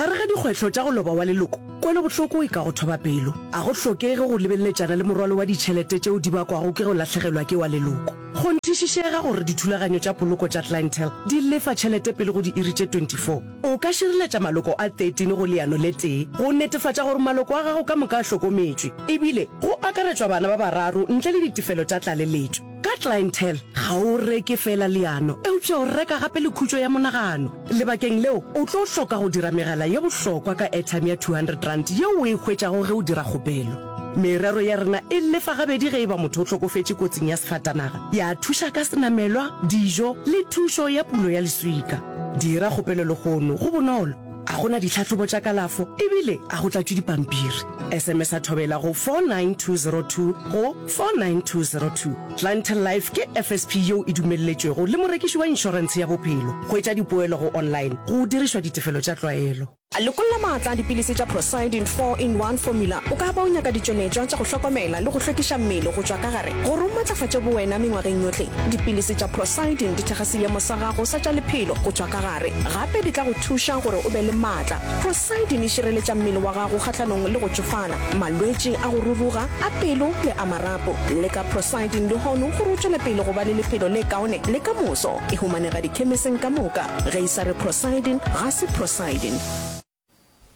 Gare ga dikgwetlho tša go loba wa leloko, kwelobohloko e ka go thoba pelo. A go hlokege go lebeleletšana le morwalo wa ditšhelete tšeo di bakwago ke go lahlegelwa ke wa leloko. Kgonthišišega gore dithulaganyo tša poloko tša Clientele di lefa tšhelete pele go diiri tše 24. O ka šireletša maloko a 13 go leano le tee go netefatša gore maloko a gago ka moka a hlokometšwe, ebile go akaretšwa bana ba bararo ntle le ditefelo tša tlaleletšo. Ka Clientele, ga o reke feela leano, eupša o reka gape le khutšo ya monagano. Lebakeng leo, o tlo hloka go dira megala ye bohlokwa ka airtime ya R200 yeo o e hwetšago ge o dira kgopelo. Merero ya rena e lefa gabedi ge e ba motho o hlokofetše kotsing ya sefatanaga, ya thuša ka senamelwa, dijo le thušo ya pulo ya leswika. Dira kgopelo lehono, go bonolo. A go na ditlhahlobo tša kalafo ebile a go tlatšwe dipampiri. SMS-a Thobela go 49202 go 49202. Clientele Life ke FSP yeo e dumelletšwego le morekiši wa inšorentshe ya bophelo. Hwetša dipoelo go online go dirišwa ditefelo tša tlwaelo. Lokolla maatla a dipilisi tša Procyldin 4-in-1 Formula. O ka ba o nyaka ditšweletšwa tša go hlokomela le go hlwekiša mmele go tšwa ka gare gore o matlafatše bowena mengwageng yohle. Dipilisi tša Procyldin di thekga seemo sa gago sa tša lephelo go tšwa ka gare. Gape di tla go thuša gore o be le maatla. Procyldin e šireletša mmele wa gago kgahlanong le go tšofala, malwetši a go ruruga, a pelo le a marapo. Leka Procyldin lehono gore o tšwele pele go ba le lephelo le kaone le ka moso. E humanega dikhemiseng ka moka. Ge e sa re Procyldin, ga se Procyldin.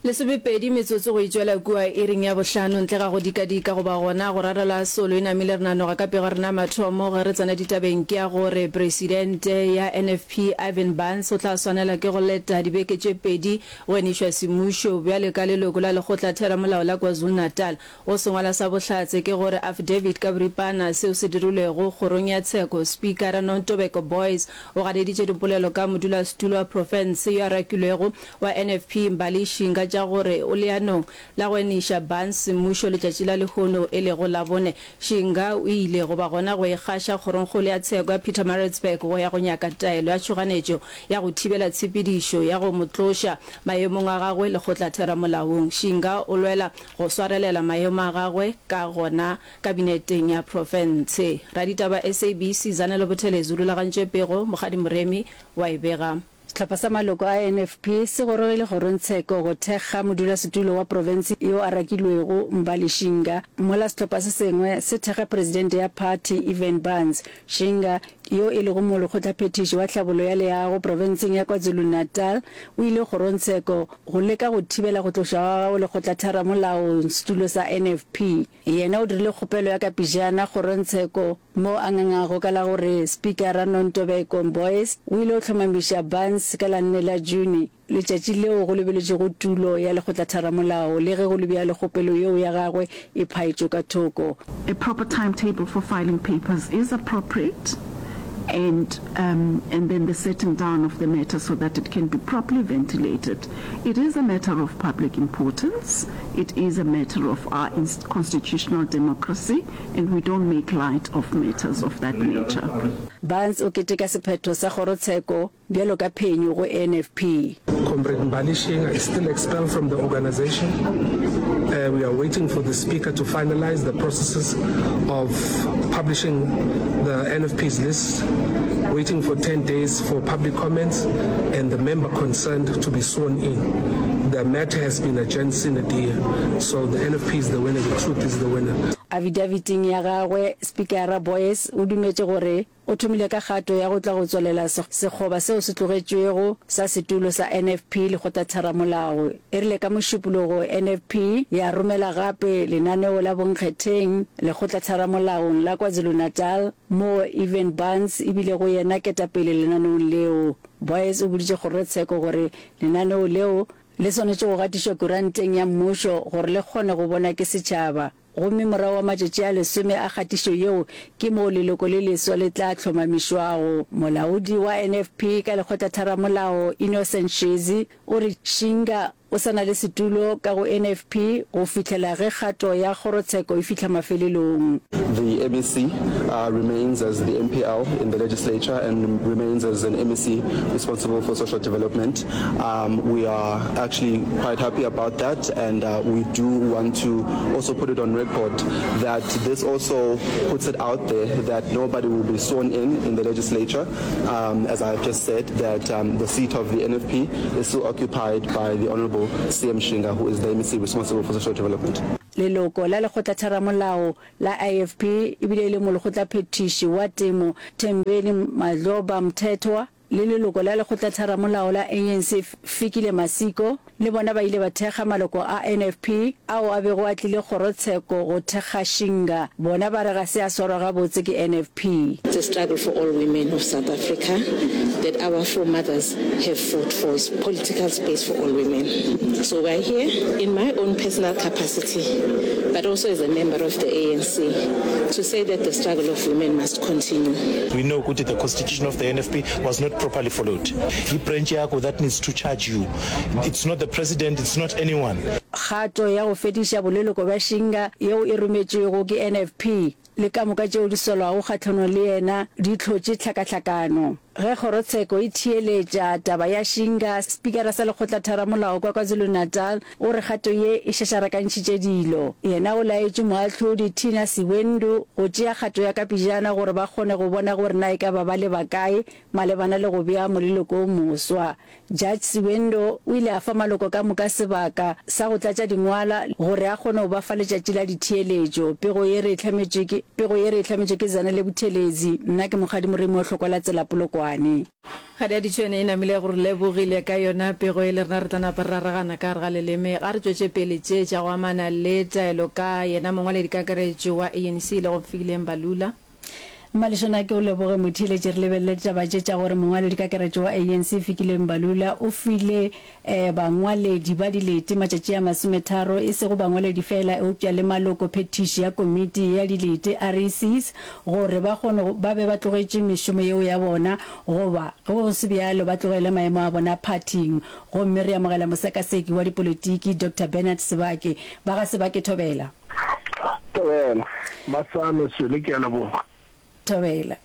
Lesomepedi metsotso go itšwela kua iring ya bohlano ntle ga go dikadika goba gona go rarela solo e namile re nanoga ka pego ya rena ya mathomo ge re tsena ditabeng ke ya gore Presidente ya NFP Ivan Barnes o tla swanela ke go leta dibeke tše pedi go enišwa semmušo bjale ka leloko la lekgotla theramolao la KwaZulu-Natal. Go sengwala sa bohlatse ke gore affidavit ka boripana seo se dirilwego kgorong ya tsheko Spikara Nontobeko Boyce O ganeditše dipolelo ka modulasetulo wa profense yo a rakilwego wa NFP Mbali Shinga tša gore o leanong la go eniša Barnes semmušo letšatši la lehono e lego Labone. Shinga o ile goba gona go ikgaša kgorongkgolo ya tsheko ya Pietermaritzburg go ya go nyaka taelo ya tšhoganetšo ya go thibela tshepedišo ya go mo tloša maemong a gagwe lekgotlatheramolaong. Shinga o lwela go swarelela maemo a gagwe ka gona Kabineteng ya profense. Raditaba SABC Zanele Buthelezi o rulagantše pego, Mokgadi Moremi wa e bega. Sehlopha sa maloko a NFP se gorogile kgorongtsheko go thekga modulasetulo wa profense yo a rakilwego Mbali Shinga, mola sehlopha se sengwe se thekga presidente ya phathi Ivan Barnes. Shinga, yo e lego molekgotlaphethiši wa tlhabollo ya leago profenseng ya KwaZulu-Natal, o ile kgorongtsheko go leka go thibela go tlošwa ga gagwe lekgotlatheramolaong setulo sa NFP. Yena o dirile kgopelo ya ka pejana kgorongtsheko moo a ngangago ka la gore Spikara Nontobeko Boyce o ile o hlomamiša Barnes ka la nne la June, letšatši leo go lebeletšwego tulo ya lekgotlatharamolao le ge go le bjalo kgopelo yeo ya gagwe e phaetšwe ka thoko. A proper timetable for filing papers is appropriate and and then the setting down of the matter so that it can be properly ventilated. It is a matter of public importance, it is a matter of our constitutional democracy and we don't make light of matters of that nature. Barnes o keteka sephetho sa kgorotsheko bjalo ka phenyo go NFP. Comrade Mbali Shinga is still expelled from the organisation. Uh, we are waiting for the speaker to finalize the processes of publishing the NFP's list, waiting for 10 days for public comments and the member concerned to be sworn in. The matter has been adjourned sine die, so the NFP is the winner, the truth is the winner. Afidaviting ya gagwe, Spikara Boyce o dumetše gore O thomile ka kgato ya go tla go tswalela sekgoba seo se tlogetšwego sa setulo sa NFP lekgotlatheramolao. E rile ka Mošupologo NFP ya romela gape lenaneo la bonkgetheng lekgotlatheramolaong la KwaZulu-Natal moo Ivan Barnes e bilego yena ketapele lenaneong leo. Boyce o boditše kgorotsheko gore lenaneo leo le swanetše go gatišwa kuranteng ya mmušo gore le kgone go bonwa ke setšhaba. Gomme morago ga matšatši a lesome a kgatišo yeo ke moo leloko le leswa le tla hlomamišwago. Molaodi wa NFP ka lekgotlatharamolao Innocent Shezi o re Shinga o sa na le setulo ka go NFP go fihlela ge kgato ya kgorotsheko e fihla mafelelong. The MEC remains as the MPL in the legislature and remains as an MEC responsible for social development. Um, we are actually quite happy about that and uh, we do want to also put it on record that this also puts it out there that nobody will be sworn in in the legislature. Um, as I have just said, that um, the seat of the NFP is still occupied by the Honorable. Honorable CM Shinga, who is the MEC responsible for social development. Leloko la lekgotlatheramolao la IFP ebile e le molekgotlaphethiši wa temo Thembeni Madloba Mthethwa le leloko la lekgotlatheramolao la ANC Fikile Masiko le bona ba ile ba thekga maloko a NFP ao a bego a tlile kgorotsheko go thekga Shinga. Bona ba re ga se a swarwa gabotse ke NFP. It's a struggle for all women of South Africa that our foremothers have fought for is political space for all women. So we are here in my own personal capacity, but also as a member of the ANC, to say that the struggle of women must continue. We know ukuthi the constitution of the NFP was not properly followed. Yi-branch yakho that needs to charge you. It's not the president, it's not anyone. Kgato ya go fediša boleloko bja Shinga yeo e rometšwego ke NFP le ka moka tšeo di solwago kgahlanong le yena di hlotše tlhakahlakano. Ge kgorotsheko e theeletša taba ya Shinga, spikara sa lekgotlatharamolao kwa KwaZulu-Natal o re kgato ye e šašarakantšhitše dilo. Yena o laetše moahlodi Tina Siwendu go tšea kgato ya ka pejana gore ba kgone go bona gore na e ka ba ba leba kae malebana le go bea moleloko o moswa. Judge Siwendo o ile a fa maloko ka moka sebaka sa go tlatša dingwala gore a kgone go ba fa letšatši la ditheeletšo. Pego ye re e hlametšwe ke Pego ye re e hlametšwe ke Zanele Buthelezi. Nna ke Mokgadi Moremi wa Hlokwa la Tsela Polokwane. Kgadi ya Ditšhwene e namile go re lebogile ka yona pego ye le rena re tla napa re raragana ka gare ga leleme ga re tšwetše pele tše tša go amana le taelo ka yena mongwaledikakaretšo wa ANC e lego Fikile Mbalula. Mmalešona ke o leboge motheeletši re lebelele ditaba tše tša gore mongwaledikakaretšo wa ANC Fikile Mbalula o file bangwaledi ba dilete matšatši a masometharo e sego bangwaledi feela eupša le maloko phethiši ya komiti ya dilete, RECs, gore ba kgone ba be ba tlogetše mešomo yeo ya bona goba ge go se bjalo ba tlogele maemo a bona phathing gomme re amogela mosekaseki wa dipolitiki Doctor Bernard Sebake ba ga Sebake Thobela. Thobela. Masame Swele ke a leboga. Thobela.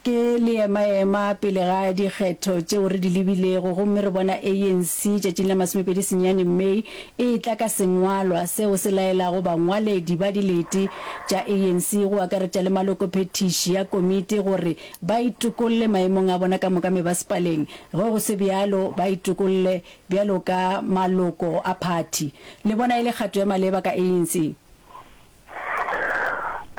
Ke leemaema pele ga dikgetho tšeo re di lebilego gomme re bona ANC tšatšing la masomepedi senyane May e etla ka sengwalwa seo se laelago bangwaledi ba dilete tša ANC go akaretša le malokophethiši a komiti gore ba itokolle maemong a bona ka moka mebasepaleng ge go se bjalo ba itokolle Bjalo ka maloko a phathi, le bona e le kgato ya maleba ka ANC?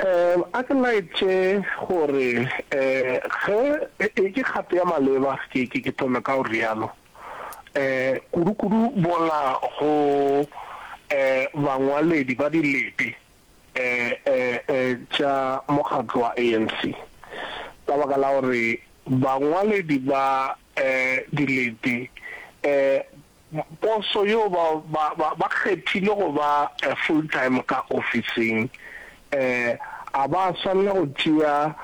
Um A ke laetše gore um ge e ke kgato ya maleba, ke, ke, ke thome ka go realo, um kudu-kudu bola go um bangwaledi ba dilete um um um tša mokgatlo wa ANC, ka baka la gore bangwaledi ba dilete, poso yeo ba, ba, ba, ba kgethile go ba full time ka ofising, a ba swanela go tšea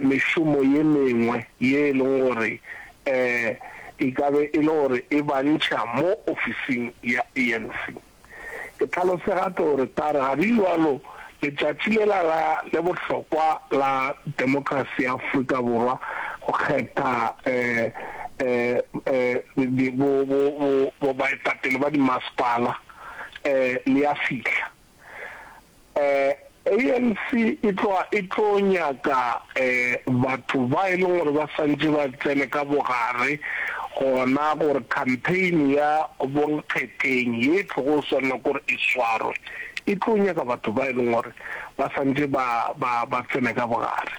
mešomo ye mengwe ye e leng gore e ka be e le gore e ba ntšha mo ofising ya ANC. Ke tlhalose gape gore tare ga di bjalo letšatši lela la le bohlokwa la demokrasi ya Afrika Borwa go kgetha bo, bo, bo, bo baetapele ba dimasepala le ya fihla. ANC e tloga e tlo nyaka batho ba e leng gore ba santše ba tsene ka bogare gona gore campaign ya bonkgetheng ye e tlogo swanela ke gore e swarwe e tlo nyaka batho ba e leng gore ba santše ba ba ba tsene ka bogare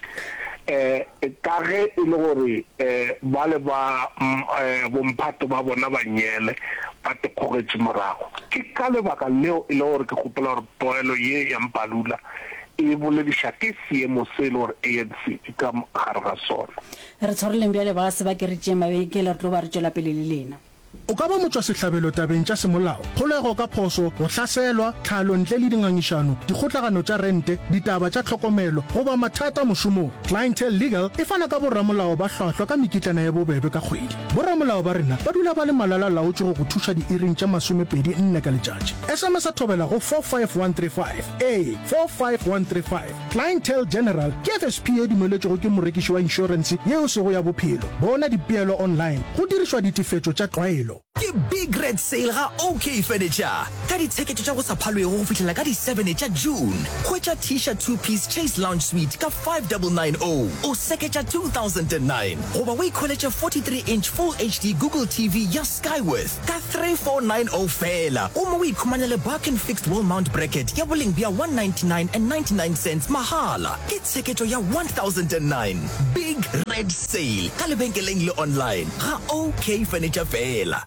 ka ge e le gore bale ba bomphato ba bona ba nyele ba tikgogetše morago. Ke ka lebaka leo e le gore ke gopola gore poelo ye ya Mpalula e bolediša ke seemo se e le gore ANC e ka gare ga sona. Re tshwareleng bjale ba se ba ke re tšee mabenkele re tlo ba re tšwela pele le lena. O ka ba motšwasehlabelo tabeng tša semolao, kgolego ka phoso, go hlaselwa, tlhalo ntle le dingangišano, dikgotlagano tša rente, ditaba tša tlhokomelo, goba mathata mošomong. Clientele Legal e fana ka boramolao ba hlwahlwa ka mekitlana ye bobebe ka kgwedi. Boramolao ba rena ba dula ba le malala-laotšwe go go thuša diiring tša masomepedi nne ka letšatši. SMS-a thobela go 45135. Ee, 45135. Clientele General ke FSP ye dumeletšwego ke morekiši wa inšorense ye e sego ya bophelo. Bona dipeelo online go dirišwa ditefetšo tša tlwaelo. Ke Big Red Sale ga OK Furniture ka ditsheketšo tša go sa phalwego go fihlela ka di 7 tša June. Hwetša Tisha two piece Chase Lounge Suite ka 5990 o seketša 2009 goba o ikhweletše 43 inch Full HD Google TV ya Skyworth ka 3490 feela gomme o ikhumanele Barkin Fixed Wall Mount Bracket ya boleng bja 199 and 99 cents mahala. Ke tsheketšo ya 1009 Big Red Sale ka lebenkeleng le online ga OK Furniture feela.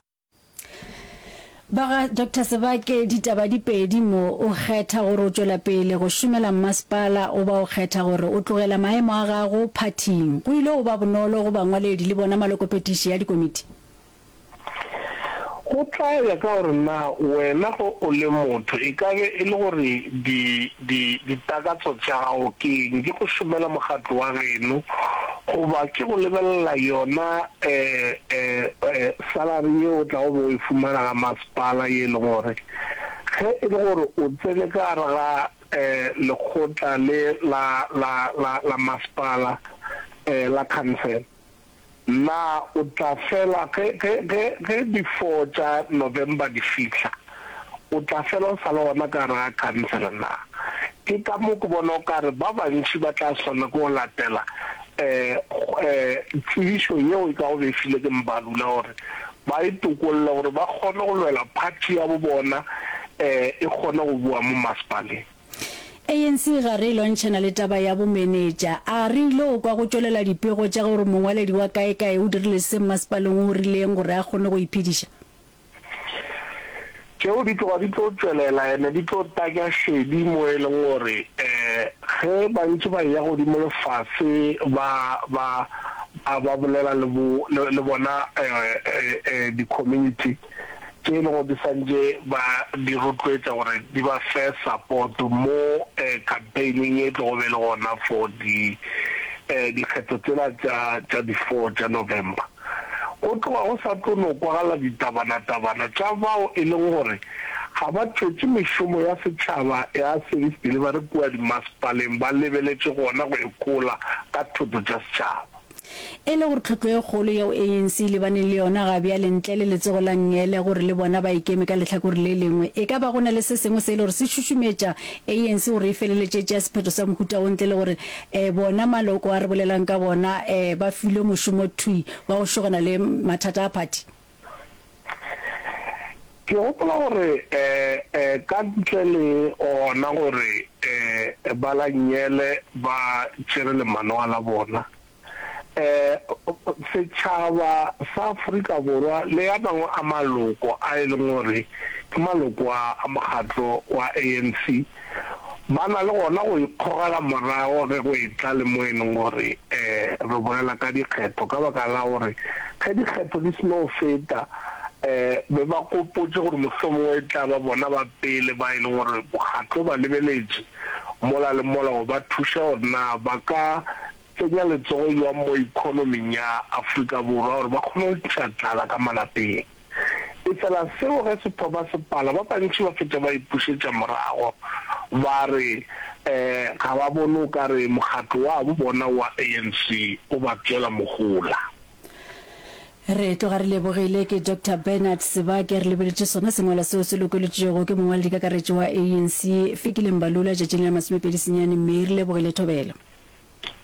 Ba ga Doctor Sebake ditaba di pedi mo, o kgetha gore o tšwela pele go šomela mmasepala goba o kgetha gore o tlogela maemo a gago phathing. Go ile go ba bonolo go bangwaledi le bona malokophethiši a dikomiti. Go tla ya ka gore na wena ge o le motho e ka be e le gore di, di, ditakatso tša gago ke eng, ke go šomela mokgatlo wa geno goba ke go lebelela yona um um salary ye o tlago be o e fumana ga masepala ye e leng gore ge e le gore o tsene ka gare ga um lekgotla le la, la, la, la masepala um la council. Na o tla fela ge, ge, ge, ge di four tša November di fihla, o tla fela o sa le gona ka gare ga khansele na? Ke ka mo ke bona o ka re ba bantši ba tla swanela ke go latela um um tsebišo yeo e kago be e filwe ke Mbalula gore ba itokolle gore ba kgone go lwela phathi ya bo bona um e kgone go boa mo masepaleng. ANC ga re lwantšhana le taba ya bomenetša. A re ile go kwa go tšwelela dipego tša gore mongwaledi wa kaekae o dirile se mmasepaleng o rileng gore a kgone go iphediša? Tšeo di tloga di tlo tšwelela ene di tlo tanya šedi mo e leng gore ge ba ntše ba eya godimo le fase ba ba ba bolela le bo le bona di-community. tše e lego di santše ba di rotloetša gore di ba fe support mo campaigning ye tlogo be le gona for di dikgetho tsela tša tša di four tša November. Go tloga go sa tlo no kwagala ditabanatabana tša bao e leng gore ga ba tšwetše mešomo ya setšhaba ya service delivery kua dimasepaleng ba lebeletše gona go ikhola ka thoto tša setšhaba. E le gore tlhotlo e kgolo yeo ANC e lebaneng le yona ga bjale ntle le letsogo la nngele gore le bona ba ikeme ka lehlakore le lengwe, e ka ba go na le se sengwe se e le gore se šušumetša ANC gore e feleletše e tšea sephetho sa mohuta wo ntle le gore bona maloko a re bolelang ka bona ba filwe mošomo thwi wa go šogana le mathata a phathi? Ke gopola gore ka ntle le gona gore ba la nngele ba tšere lemanoa la bona, setšhaba sa Afrika Borwa le a mangwe a maloko a e leng gore ke maloko a mokgatlo wa ANC ba na le gona go ikgogela morago ge go etla le mo e leng gore re bolela ka dikgetho ka baka la gore ge dikgetho di se no feta be ba gopotše gore mohlomongwe e tla ba bona ba pele ba e leng gore mokgatlo o ba lebeletše mola le mola go ba thuša gore na ba ka tsenya letsogo bjang mo ekonoming ya Afrika Borwa gore ba kgone go ntšha tlala ka malapeng. Efela seo ge se thoma se pala, ba bantši ba fetša ba ipušetša morago ba re ga ba bone o ka re mokgatlo wa bo bona wa ANC o ba tšwela mohola. Re tloga re lebogile ke Doctor Bernard Sebake re lebeletše sona sengwalwa seo se lokolotšwego ke mongwaledikakaretšo wa ANC Fikile Mbalula tšatšing la 29 May. Re lebogile Thobela.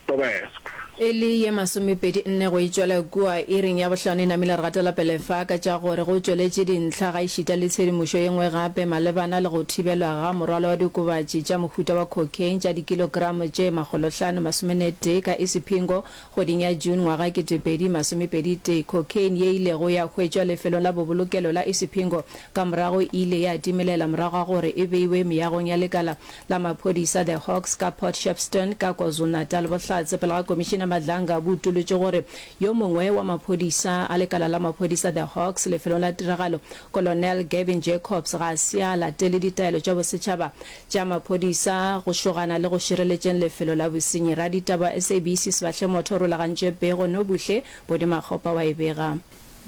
Thobela. E le ye masomepedi nne go e tšwela kua iring ya bohlano e namile re gatela pele fa ka tša gore go tšweletše dintlha gaešita le tshedimošo ye nngwe gape malebana le go thibelwa ga morwalo wa diokobatši tša mohuta wa cocaine tša dikilogramo tše makgolohlano masomenetee ka Isipingo kgweding ya June ngwaga 2021. Cocaine ye ilego ya hwetšwa lefelong la bobolokelo la Isipingo ka morago e ile ya timelela morago ga gore e beiwe meagong ya lekala la maphodisa The Hawks ka Port Shepstone ka KwaZulu-Natal. Bohlatse pele ga Komišene Madlanga bo utolotše gore yo mongwe wa maphodisa a lekala la maphodisa The Hawks lefelong la tiragalo, Colonel Gavin Jacobs ga se a latele ditaelo tša bosetšhaba tša maphodisa go šogana le go šireletšeng lefelo la bosenyi. Raditaba wa SABC Sebahle Motho o rulagantše pego, Nobuhle Bodi Makgopa wa e bega.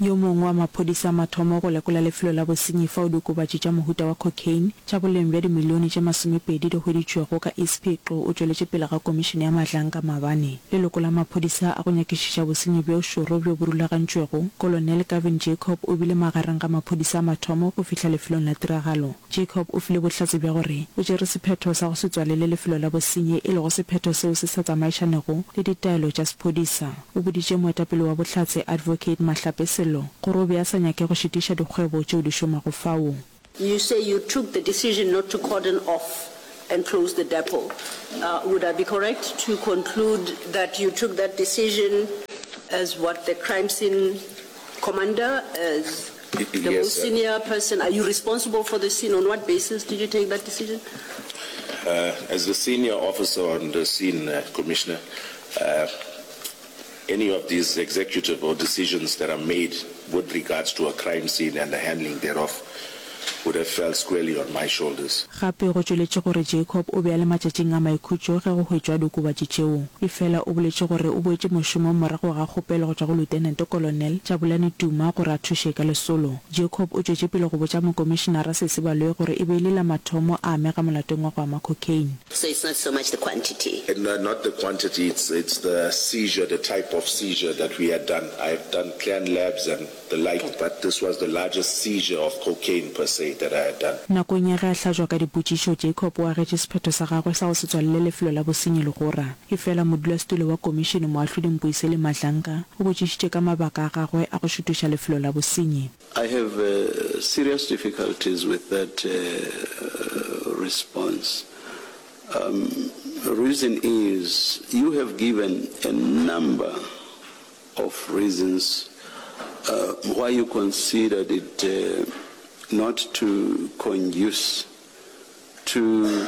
Yo mongwe wa maphodisa a mathomo go lekola lefelo la bosenyi fao diokobatši tša mohuta wa cocaine tša boleng bja dimilione tše masomepedi di hweditšwego ka East Phiqo o tšweletše pele ga Komišene ya Mahlanka maabane. Leloko la maphodisa a go nyakišiša bosenyi bjo šoro bjo bo rulagantšwego, Kolonel Gavin Jacob o bile magareng ga maphodisa a mathomo go fihla lefelong la tiragalo. Jacob o file bohlatse bja gore o tšere sephetho sa go se tswalele lefelo la bosenyi e lego sephetho seo se sa tsamaišanego le ditaelo tša sephodisa. O boditše moetapele wa bohlatse Advocate Mahlape Sello gore o be a sa nyake go šitiša dikgwebo tšeo di šomago fao. You say you took the decision not to cordon off and close the depot. Would I be correct to conclude that you took that decision as what the crime scene commander, as the most senior person? Are you responsible for the scene? On what basis did you take that decision? As the senior officer on the scene, Commissioner, any of these executive or decisions that are made with regards to a crime scene and the handling thereof would have fell squarely on my shoulders. Gape go tšweletše gore Jacob o be a le matšatšing a maikhutšo ge go hwetšwa diokobatši tšeo. Efela o boletše gore o boetše mošomong morago ga kgopelo go tšwa go Lieutenant Colonel Jabulani Tuma gore a thuše ka lesolo. Jacob o tšwetše pele go botša Mokomišenara Sesi Baloyi gore e be e le la mathomo a amega molatong wa go ama cocaine. So it's not so much the quantity. No, not the quantity, it's, it's the seizure, the type of seizure that we had done. I have done clan labs and the like, okay. but this was the largest seizure of cocaine per se that I had done. Nakong ya ge a hlajwa ka dipotšišo, Jacob o agetše sephetho sa gagwe sa go se tswalele lefelo la bosenyi legora. Efela modulasetulo wa komišene Moahlodi Mpuiseli Madlanka o botšišitše ka mabaka a gagwe a go šutuša lefelo la bosenyi. I have serious difficulties with that response. Um, reason is you have given a number of reasons uh, why you considered it uh, not to conduce to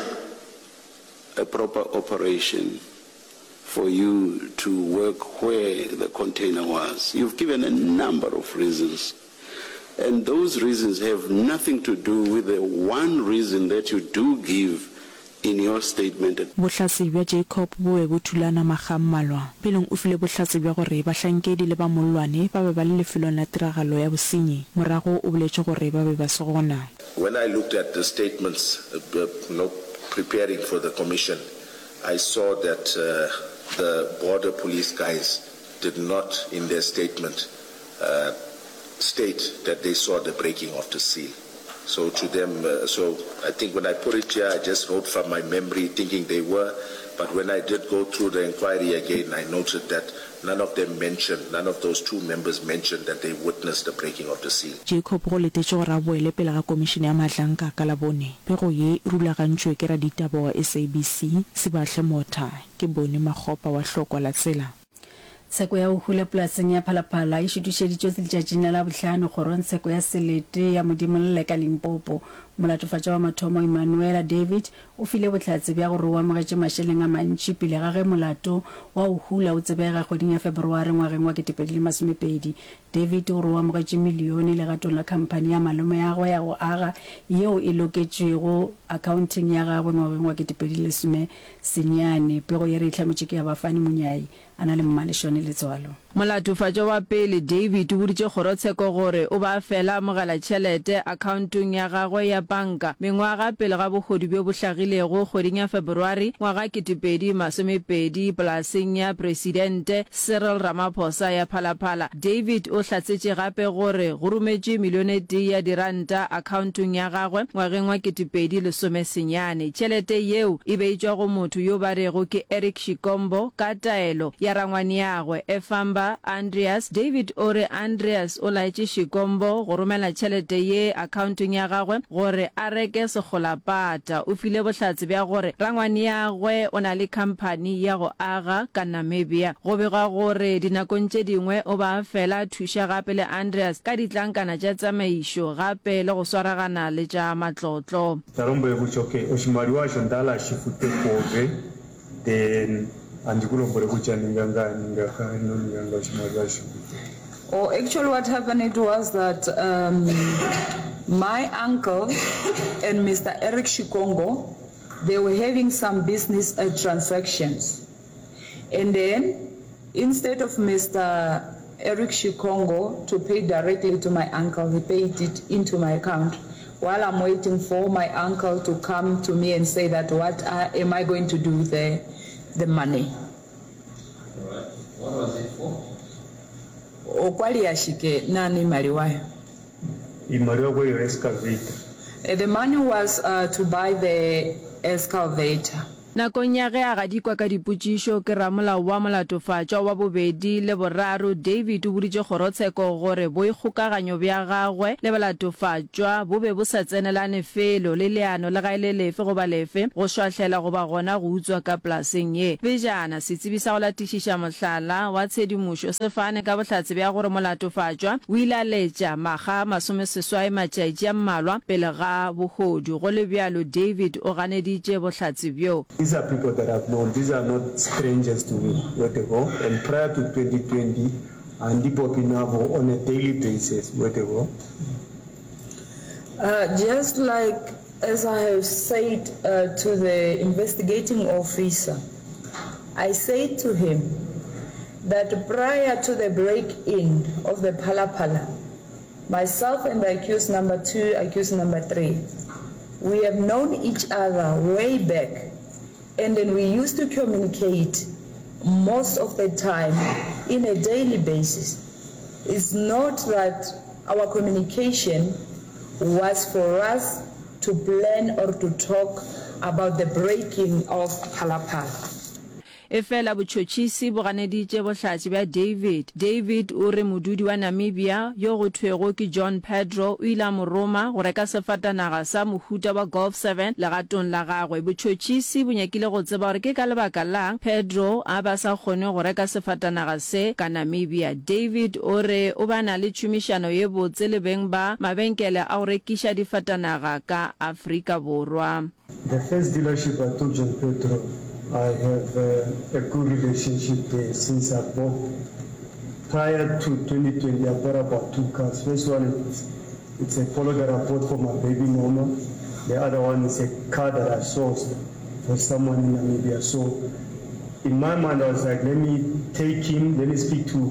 a proper operation for you to work where the container was. You've given a number of reasons. And those reasons have nothing to do with the one reason that you do give in your statement. Bohlatse bja Jacob bo be bo thulana makga a mmalwa. Peleng o file bohlatse bja gore bahlankedi le ba mollwane ba be ba le lefelong la tiragalo ya bosenyi. Morago o boletše gore ba be ba se gona. When I looked at the statements, you know, preparing for the commission, I saw that the border police guys did not in their statement state that they saw the breaking of the seal. So to them, so I think when I put it here, I just wrote from my memory thinking they were, but when I did go through the inquiry again, I noted that none of them mentioned, none of those two members mentioned that they witnessed the breaking of the seal. Jacob go letetšwe gore a boele pele ga Komišene ya Mahlanka ka Labone. Pego ye e rulagantšwe ke raditaba wa SABC, Sibahle Motha. Ke Boni Makgopa wa Hlokwa la Tsela. Tsheko ya go hula polaseng ya Phalaphala e šutišeditšwe letšatšing la Labohlano kgorongtsheko ya selete ya Modimolle ka Limpopo. Molatofatšwa wa mathomo Emmanuela David o file bohlatse bja gore o amogetše mašeleng a mantši pele ga ge molato wa go hula o tsebega kgweding ya Feberware ngwageng wa 2020. David o re o amogetše milione legatong la khamphani ya malomeagwe ya go aga yeo e loketšwego akhaonteng ya gagwe ngwageng wa 2019. Pego ye re e hlametše ke ya Bafani Monyai a na le Mmalešwane Letswalo. Molatofatšwa wa pele, David, o boditše kgorotsheko gore o be a fela a amogela tšhelete akhaontong ya gagwe ya panka mengwaga pele ga bohodu bjo bo hlagilego kgweding ya Feberware ngwaga 2020 polaseng ya Presidente Cyril Ramaphosa ya Phalaphala. David o hlatsetše gape gore go rometšwe milione tee ya diranta akhaontong ya gagwe ngwageng wa 2019. Tšhelete yeo e be e tšwa go motho yo ba rego ke Eric Shikombo ka taelo ya rangwaneagwe Efamba Andreas. David o re Andreas o laetše Shikombo go romela tšhelete ye akhaontong ya gagwe gore a reke sekgolapata. O file bohlatse bja gore rangwaneagwe o na le khamphani ya go aga ka Namibia. Go begwa gore dinakong tše dingwe o ba a fela a thuša gape le Andreas ka ditlankana tša tsamaišo gape le go swaragana le tša matlotlo. Ta lombwele kutya okay oshimaliwa osho nda hala shi fute kuove then andi ku lombwele kutya ninga ngaa ninga ngaa ino ninga ngaa oshimaliwa shi fute. Oh actually what happened it was that um my uncle and Mister Eric Shikongo they were having some business uh, transactions and then instead of Mister. Eric Shikongo to pay directly to my uncle. He paid it into my account while I'm waiting for my uncle to come to me and say that what I, am I going to do with the, the money. Alright. What was it for? Okwa li ashike naana iimaliwa yo. Iimaliwa okwa li yo excavator. The money was to buy the excavator. Nakong ya ge a gadikwa ka dipotšišo ke ramolao wa molatofatšwa wa bobedi le boraro, David o boditše kgorotsheko gore boikgokaganyo bja gagwe le balatofatšwa bo be bo sa tsenelane felo le leano le ga e le lefe goba lefe go šwahlela goba gona go utswa ka polaseng ye. Pejana, setsebi sa go latišiša mohlala wa tshedimošo se fane ka bohlatse bja gore molatofatšwa o ile a letša makga a masomeseswai matšatši a mmalwa pele ga bohodu. Go le bjalo, David o ganeditše bohlatse bjo. These are people that I've known, these are not strangers to me, wetego, and prior to 2020, handi popi navo on a daily basis, wetego. Uh, just like as I have said uh, to the investigating officer, I said to him that prior to the break-in of the Phala Phala, myself and the accused number 2, accused number 3, we have known each other way back and then we used to communicate most of the time in a daily basis. It's not that our communication was for us to plan or to talk about the breaking of Phala Phala. Efela botšhotšhisi bo ganeditše bohlatse bja David. David o re modudi wa Namibia yo go thwego ke John Pedro o ile a mo roma go reka sefatanaga sa mohuta wa Golf Seven legatong la gagwe. Botšhotšhisi bo nyakile go tseba gore ke ka lebaka lang Pedro a be a sa kgone go reka sefatanaga se ka Namibia. David o re o be a na le tšhomišano ye botse le beng ba mabenkele a go rekiša difatanaga ka Afrika Borwa. The first dealership I took John Pedro, I have a good relationship there since I bought prior to 2020 I bought about two cars. First one it's, it's a Polo that I bought for my baby mama. The other one is a car that I sourced for someone in Namibia. So in my mind I was like, let me take him, let me speak to,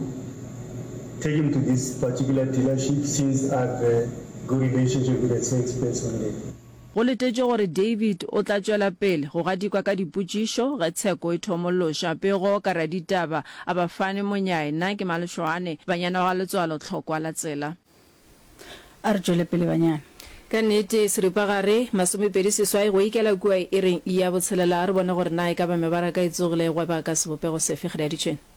take him to this particular dealership since I have a good relationship with the salesperson there. Go letetšwe gore David o tla tšwela pele go gadikwa ka dipotšišo ge tsheko e thomološa. Pego ka raditaba a Bafane Monyai. Nna ke Malešoane, banyana wa ga Letswalo Tlhokwa la tsela. A re tšwele pele banyana. Ka nnete, seripagare, masomepedi seswai go ikela kua iring ya botshelela. A re bone gore na e ka ba mebaraka e tsogile e gweba ka sebopego sefe. Kgadi ya ditšhwene.